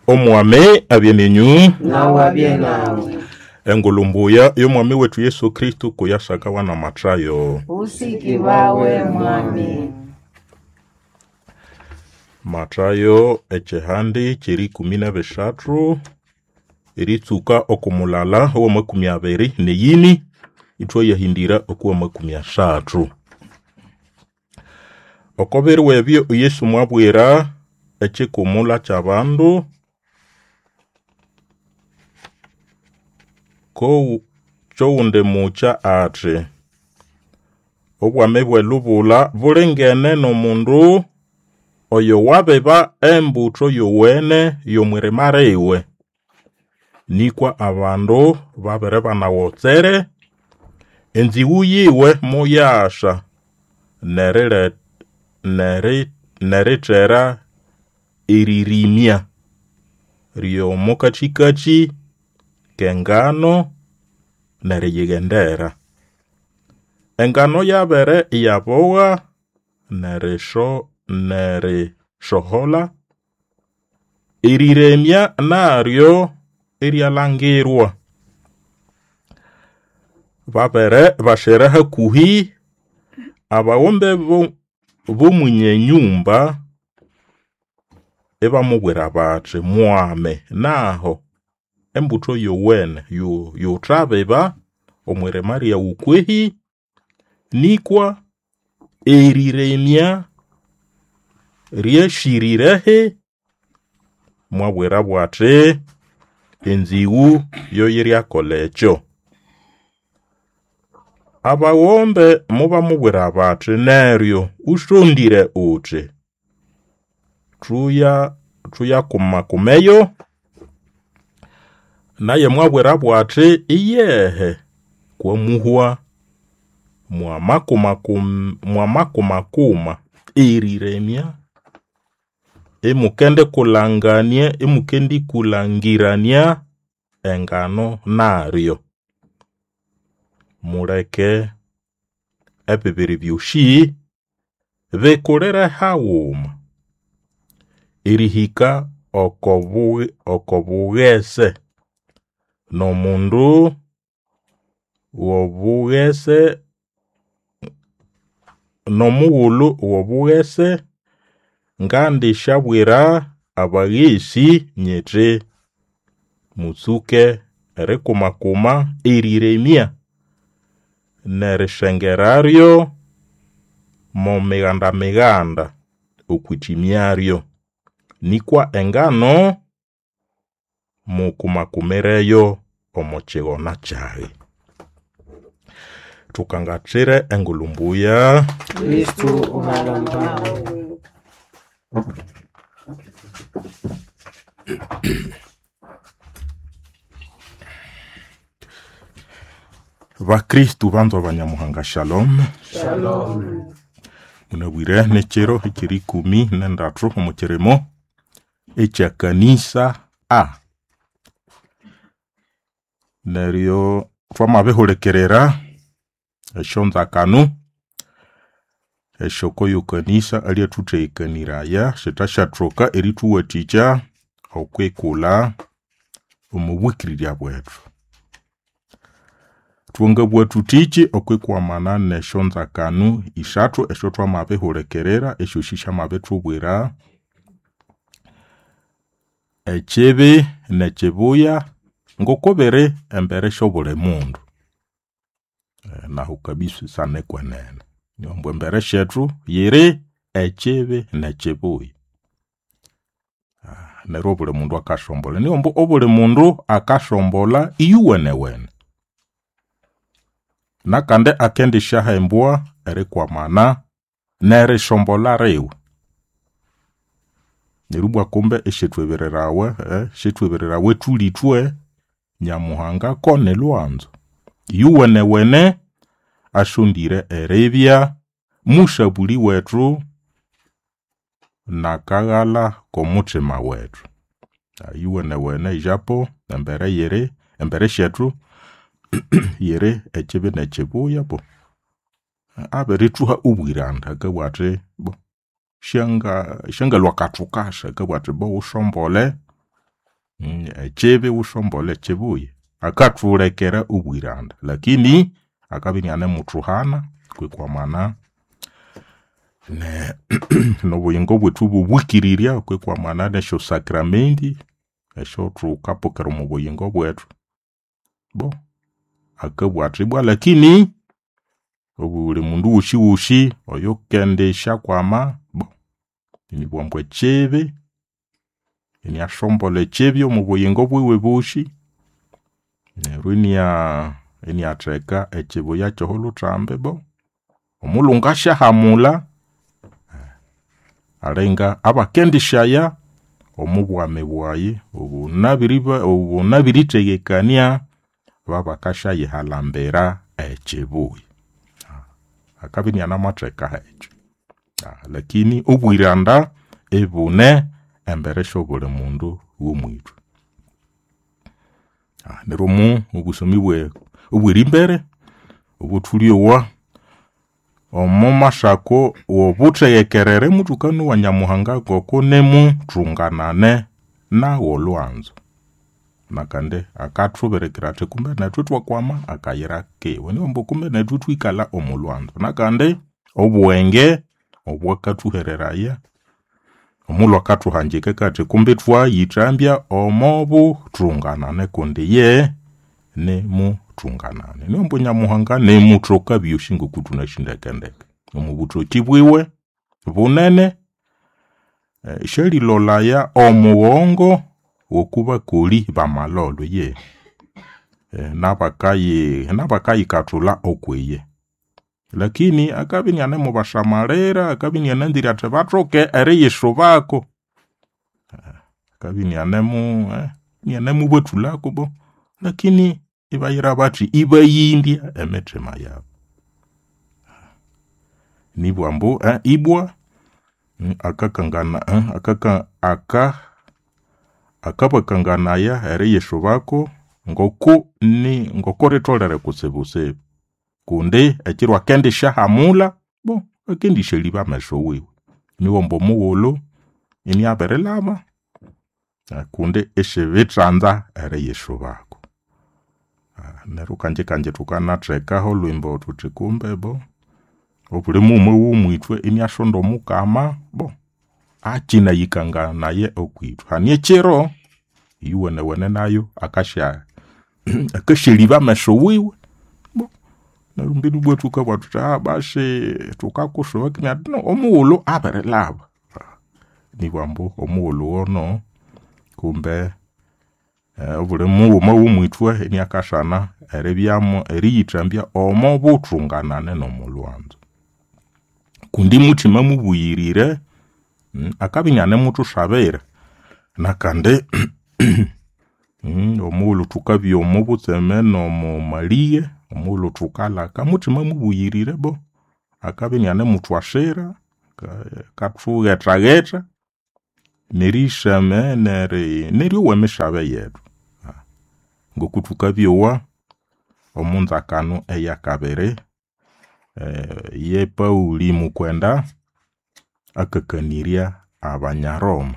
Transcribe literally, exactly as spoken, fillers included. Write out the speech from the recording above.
Omwami abye nenyu. Nawe abye nawe. Engulu mbuya y'omwami wetu Yesu Kristu kuyasakawa na Matayo. Usiki bawe mwami. Matayo ekihandi kyeri ikumi na bisathu eritsuka okumulala owamakumi abiri neyini ithwayahindira okuwamakumi asathu. Oko biro ebyo Yesu mwabwira ekikumula ky'abandu ko kyowundi mukya athi, obwami bw'elubula bulingene n'omundu oyo wabiba embutho yowene y'omwirima liwe. Nikwa abandu babere banawotsere, enziwu yiwe moyasa nerile neri nerithera eririmya ry'omukathikathi k'engano neriyighendera. Engano yabere iyabowa nerisho nerisohola, eriremya naryo iryalangirwa. Babere bashera hakuhi, abawombe b'omwinye nyumba ibamubwira bathi, mwame naho embutho yowene yuthabiba omwirima lyawu kwehi, nikwa eriremya ryashirirehi. Mwabwirabo athi, enziwu yoyiryakolha ekyo. Abawombe mubamubwira bathi, neryo usondire uthi thuya thuyakumakumeyo. Naye mwabwirabo athi, iyehe kwamuhwa mwamakumakuma eriremya imukendikulangania imukendikulangirania engano naryo. Muleke ebibiri byosi bikulire haghuma erihika okobu okobughese n'omundu w'obughese n'omughulhu w'obughese ngandisyabwira abaghesi nyithi mutsuke erikumakuma eriremya nerisengeraryo mo mighanda-mighanda okwithimyaryo. Nikwa engano mukumakumireyo omo kighona kyaghe. Thukangathire engulhu mbuya. Kristu uhalombawe. Bakristu banzwa banyamuhanga, shalom. Shalom. Munabwire n'ekiro ekyeri ikumi n'endathu omu kirimo ekyakanisa A. Neryo thwamabihulikirira esyonzakanu esyoko yokanisa alyathutheghekaniaya sithashathoka erithuwathikya okwikulha omu bwikirirya bwethu. Thwangabugha thuthiki okwikwamana n'esyonzakanu isathu esyathwamabihulikirira esyosi syamabithubwira ekibi n'ekibuya ngokubiri embere syobuli mundu. Nahu kabisa nikwenene ambu embere syethu yiri ekibi n'ekibuya. Neryo obuli mundu akasombolha, niyo ambu obuli mundu akasombolha iyuwenewene. Nakandi akendisyaha embwa erikwamana nerisombolha liwe. Neryo ibwa kumbe isyethwebererawa syethwebererawa thulithwe Nyamuhanga ko nilhwanzo. Iyuwenewene asondire eribya musabuli wethu nakaghalha k'omuthima wethu. Iyuwenewene ijapo embere yiri embere syethu yiri ekibi n'ekibuya bo abirithuha obwiranda akabugha athi bo syanga syangalhwa akathukasa akabugha athi bo wusombolhe. Mm, ekibi wushombole kibuya akathulekera obwiranda lakini akabya inianemuthuhana kwikwamana ne nobuyingo bwethu bobwikirirya kwikwamana nesyo sacramenti esyothukapokera omo buyingo bwethu. Bo akabugha athi ibwa lakini obuli mundu woshiwoshi oyukendisyakwama bo inibugha ambu ekibi iniasombolha ekibi omo buyingo bwiwe bosi neryo inia iniatheka ekibuya kyoholhuthambi bo omulhungu asyahamulha alinga abakendisyaya omubwami bwayi obunabiriba obunabirithegekania babakasyayihalhambira ekibuya. Akabya inianamatheka ekyo. Lakini obwiranda ibune embere syobuli mundu womwithwe. Neryo omu obusomi bwe obwerimbere obuthulyowa omumasako wobutheghekerere muthukanowa Nyamuhanga ngokunimuthunganane nawu olhwanzu. Nakandi akathubirikira athi kumbe nethu ithwakwama akayira kiwe niwambu kumbe nethu ithwikalha omulhwanzu. Nakandi obughenge obwakathuhereraya omulhu akathuhanjika akathi kumbe ithwayithambya omobuthunganane kundi iye nimuthunganane. Niwambu Nyamuhanga nimuthoka byosi ngokuthunasi ndekendeke. Omubuthoki bwiwe bunene syalilolaya omughongo wokubakoli bamalholho eyihi. Nabakayi nabakayikathulha okwiye. Lakini akabya inianemubasamalira, akabya iniananzire athi bathoke eriyisubako. Akabya inianemu inianemubathulhako bo lakini ibayira bathi ibayindya emithima yabu. Nibugha ambu ibwa akakangana akaka aka akabakanganaya eriyisubako ngoku ni ngokuritholere kutsibutsibu kundi ekiro akendisyahamulha bo akendisyalhiba ameso wiwe. Niwamba omughulhu iniabirilhaba kundi isibitsanza eriyisubako. Neryo kanjikangyi thukanathekaho olhwimbo thuthi kumbe bo obuli mughuma womwithwe iniasonda omukama bo akyinayikanganaya okwithwe. Hane ekiro iyuwenewene nayu akasya akasyalhiba ameso wiwe bo neryo mbinu ibwa thukabugha thuthi basi thukakusuba no omughulhu abirilhaba. Nibugha ambu omughulhu wono kumbe obuli mughuma womwithwe iniakasana eribyamu eriyithambya omobuthunganane nomolhwanzu. Kundi muthima mubuyirire akabya inianemuthusabira nakandi omughulhu thukabya omobutseme nomomalighe, omughulhu thukalhaka muthima mubuyirire bo akabya inianemuthwasira, akathugethagetha nerisama neri neryowa emisabe yethu. Ngokuthukabyowa omunzakano eyakabiri ye Pauli mukwenda akakanirya abanya Roma.